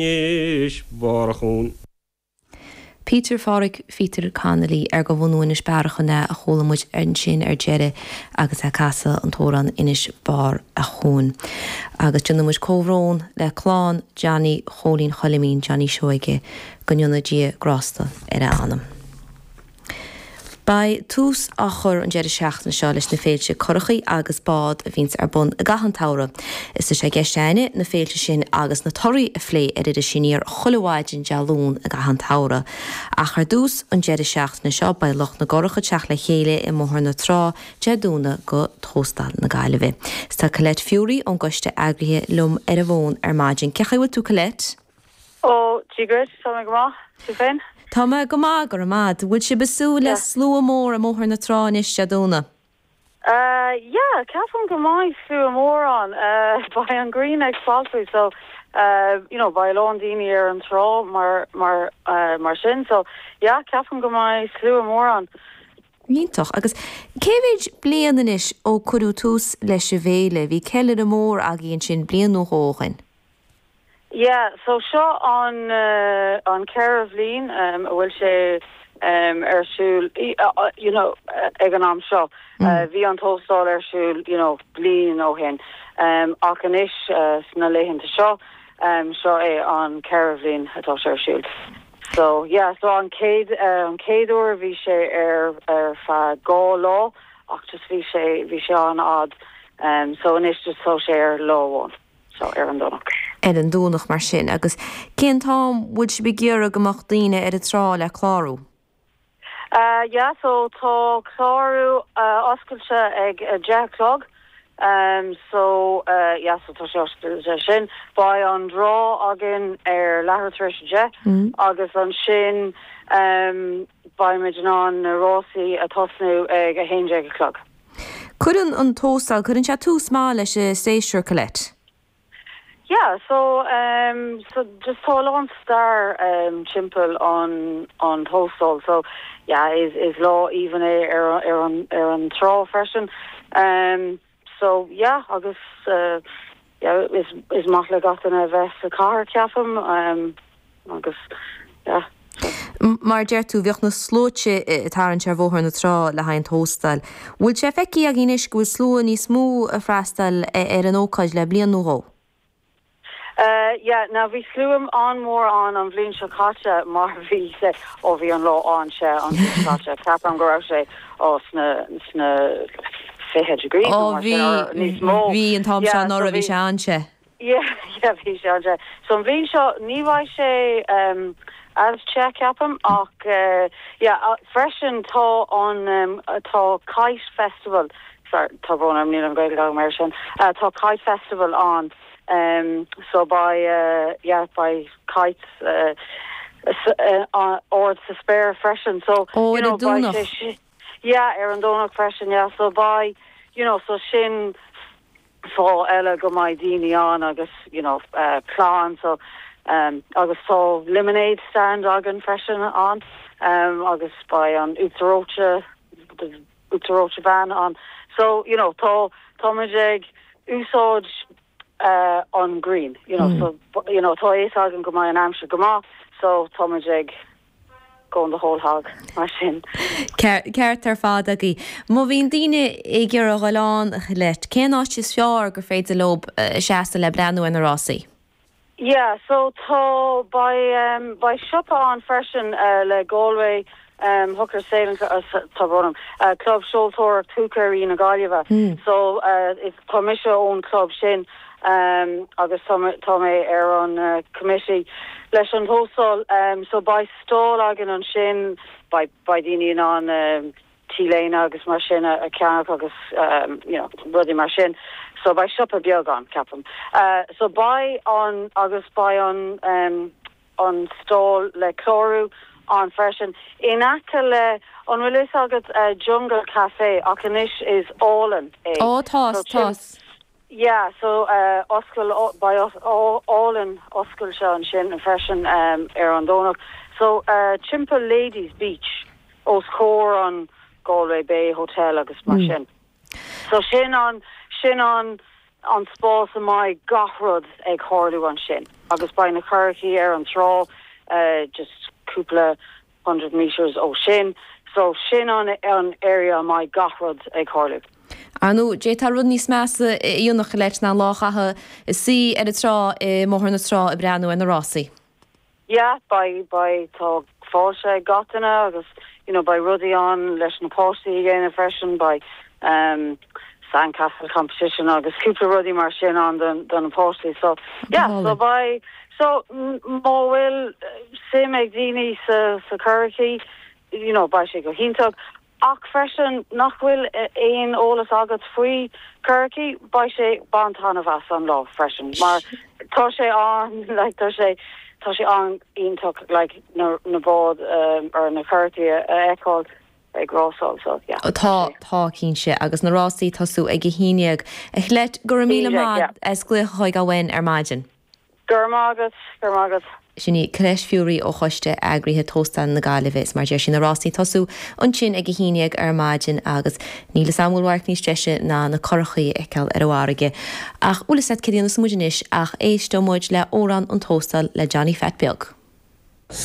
Inis Barr a' Chuain. Peter Phádraig Pheter Connolly ar de bhunadh Inis Bearachain é a chuala muid ansin ar deireadh agus é ag casadh an t-amhrán Inis Barr a' Chuain. Agus déanann muid comhbhrón le clann Johnny Chóilín Choilimín, Johnny Seoige, go ndéana Dia grásta ar a anam. Beidh tús á chur an deireadh seachtaine seo leis na féilte curachaí agus bád a bhíonns ar bun i gcaitheamh an tsamhraidh. Is tá sé i gceist a'inne na féilte sin agus na torthaí a phlé ar Iris Aniar chuile mhaidin Dé Luain i gcaitheamh an tsamhraidh. Ach ar dtús, an deireadh seachtaine seo, beidh lucht na gcurach ag teacht le chéile i mBóthar na Trá Dé Domhnaigh go Tóstal na Gaillimhe. Is tá Colette Furey ón gcoiste eagraithe liom ar an bhfón ar maidin. Cén chaoi a bhfuil tú Colette? Ó, Dia dhuit, tá mé go maith. Tú féin? Tá mé go maith, go raibh maith. Bhfuil sibh ag súil le slua mór i mBóthar na Trá anois Dé Domhnaigh? Uh, yeah, ceapaim go mbeidh slua mór ann. Uh, beidh an ghrian ag soilsiú, so, uh, you know, beidh a lán daoine ar an trá mar, mar, uh, mar sin, so, yeah, ceapaim go mbeidh slua mór ann. Iontach. Agus cé mhéid bliain anois ó cuireadh tús leis an bhféile? Bhí ceiliúradh mór agaibh ansin bliain nó dhó ó shin. Yeah, so seo an an ceathrú bhliain a bhfuil sé ar siúl you know ag an am seo. Bhí an tóstal ar siúl you know bliain ó shin ach anois sna laethanta seo, seo é an ceathrú bhliain atá sé ar siúl. So yeah, so an chéad an chéad uair bhí sé ar ar feadh dhá lá ach just bhí sé bhí sé an-fhad so anois just tá sé ar lá amháin. So, ar an Domhnach. Ar an Domhnach mar sin. Agus cén t-am bhfuil sibh ag iarraidh go mbeadh daoine ar an trá le clárú? Uh, yeah, so tá clárú uh, oscailte ag a 10 a chlog. Um, so, uh, yeah, so tá sé oscailte sin. Beidh an draw againn ar leathuair tar éis a 10 mm. agus ansin um, beimid in ann na rásaí a tosnú ag 11 a chlog. Cuireann an tóstal, cuireann sé tús maith leis an séasúr, Colette. Yeah, so um so just tá a lán stair um timpeall an an tóstal so yeah is is lá aoibhinn é ar ar an ar an trá freisin um so yeah agus uh yeah is is maith le gach duine a bheith sa chathair ceapaim um agus yeah so. Mar a deir tú, bheadh na sluaite ag tarraingt ar Bhóthar na Trá le haghaidh an Tóstail. Bhfuil sé feicthe agaibh anois go bhfuil slua níos mó ag freastal ar an ócáid le bliain nó dhó? Uh yeah, now bhí slua an-mhór ann an bhliain seo caite mar bhí sé, ó bhí an lá an-te an bhliain seo caite, ceapaim go raibh sé ó sna, sna 20 degrees nó mar sin, or níos mó. Ó bhí, bhí an t-am seo anuraidh, bhí sé an-te. Yeah, yeah, bhí sé an-te. So an bhliain seo ní bheidh sé um, as te ceapaim ach uh, yeah, uh, freisin tá an um, tá Kite Festival sorry, tá brón orm níl an Gaeilge agam air sin uh, tá Kite Festival ann um, so beidh uh, yeah, beidh kites uh, uh, ard sa spéir freisin so Ó, you ar an know, beidh sé Domhnach. si- yeah, ar an Domhnach freisin yeah, so beidh you know, so sin fáth eile go mbeidh daoine ann agus you know clann so agus tá lemonade stand againn freisin ann agus beidh an uachtar reoite uachtar reoite van ann so you know tá táimid ag úsáid an ghrian you know so you know tá a fhios againn go mbeidh an aimsir go maith so táimid ag going the whole hog, mar sin. Ceart ar fad agaibh. Má bhíonn daoine ag iarraidh a dhul ann, a Cholette, cén áit is fearr gur féidir leo seasamh le breathnú ar na rásaí? Yeah, so tá, beidh, beidh siopa ann freisin le Galway Hooker Sailing, tá brón orm, Club Seoltóireacht Húicéirí na Gaillimhe. So tá mise ón club sin. agus tá tá mé ar an committee leis an tóstal so beidh stall againn ansin beidh beidh daoine in ann t-léine agus mar sin a cheannach agus you know rudaí mar sin so beidh siopa beag ann ceapaim. So beidh an agus beidh an an stall le clárú ann freisin in aice le an bhfuil fhios agat Jungle Café ach anois is álainn é Ó tá tá. Yeah so oscail beidh álainn oscailte ansin freisin ar an Domhnach. So timpeall Ladies Beach os comhair an Galway Bay Hotel agus mar sin. So sin an sin an. an spás a mbeidh gach rud ag tharlú ansin agus beidh na currachaí ar an trá just cúpla hundred metres ó sin so sin an an area a mbeidh gach rud ag tharlú. Ar ndóigh, d'fhéadfá rud níos measa a dhéanamh Colette ná lá a chaitheamh ag suí ar an trá i mBóthar na Trá ag breathnú ar na rásaí. Yeah, beidh, beidh, tá fáilte ag gach duine agus you know beidh rudaí ann leis na páistí a dhéanamh freisin, beidh um sandcastle competition agus cúpla rudaí mar sin ann do, do na páistí so yeah, so beidh, so má bhfuil suim ag daoine sa, sa currachaí you know beidh sé go hiontach. Ach freisin, nach bhfuil aon eolas agat faoi currachaí, beidh sé, bain taitneamh as an lá freisin mar tá sé an, like tá sé, tá sé an-iontach like na, na báid or na currachaí a fheiceáil ag rásáil so yeah. Tá, tá cinnte agus na rásaí ag tosú ag 11. A Cholette, go raibh míle maith as glaoch a thógáil uainn ar maidin. Go raibh maith agat, go raibh maith agat. Sin í Colette Furey ó Choiste Eagraithe Tóstal na Gaillimhe. Is mar a deir sí, na rásaí ag tosú ansin ag 11 ar maidin agus níl 'fhios a'm an bhfuil radharc níos deise ná na curachaí a fheiceáil ar an bhfarraige. Ach bhfuil 'fhios a'd céard a dhéanfas muid anois ach éisteoidh muid le Amhrán an Tóstail le Johnny Phat Beag.